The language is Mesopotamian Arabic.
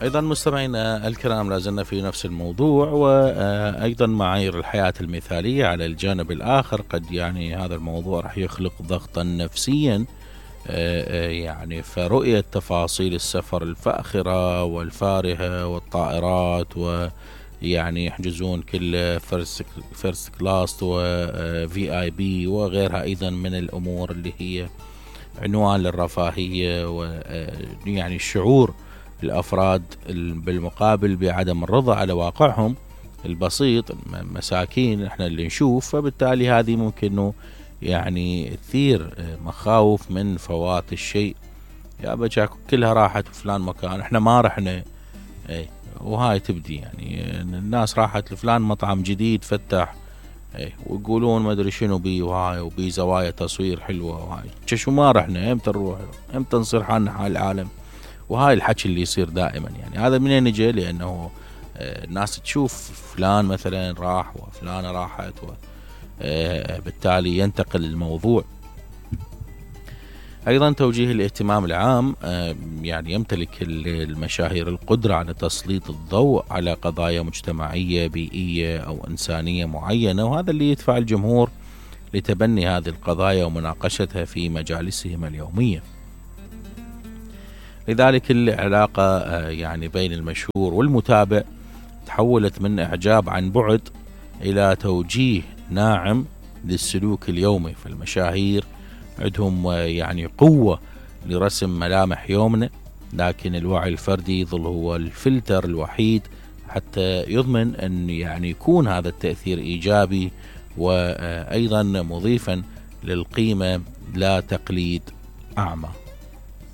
أيضا مستمعينا الكرام، لازلنا في نفس الموضوع، وأيضا معايير الحياة المثالية. على الجانب الآخر قد يعني هذا الموضوع رح يخلق ضغطا نفسيا، يعني فرؤية تفاصيل السفر الفاخرة والفارهة والطائرات، ويعني يحجزون كل فيرست كلاس وفي اي بي وغيرها أيضا من الأمور اللي هي عنوان للرفاهية، ويعني الشعور الأفراد بالمقابل بعدم الرضا على واقعهم البسيط، مساكين احنا اللي نشوف. فبالتالي هذه ممكن يعني تثير مخاوف من فوات الشيء. يا بجاك كلها راحت فلان مكان احنا ما رحنا، وهاي تبدي يعني الناس راحت لفلان مطعم جديد فتح، ويقولون ما ادري شنو بي، وهاي وبي زوايا تصوير حلوة، وهاي شو ما رحنا، امتى نروح، امتى نصير حالنا حال العالم. وهاي الحكي اللي يصير دائما. يعني هذا منين يجي؟ لأنه الناس تشوف فلان مثلا راح وفلانة راحت، وبالتالي ينتقل الموضوع. أيضا توجيه الاهتمام العام، يعني يمتلك المشاهير القدرة على تسليط الضوء على قضايا مجتمعية بيئية أو إنسانية معينة، وهذا اللي يدفع الجمهور لتبني هذه القضايا ومناقشتها في مجالسهم اليومية. لذلك العلاقة يعني بين المشهور والمتابع تحولت من إعجاب عن بعد إلى توجيه ناعم للسلوك اليومي. فالمشاهير عندهم يعني قوة لرسم ملامح يومنا، لكن الوعي الفردي يظل هو الفلتر الوحيد حتى يضمن أن يعني يكون هذا التأثير إيجابي، وأيضا مضيفا للقيمة لا تقليد أعمى.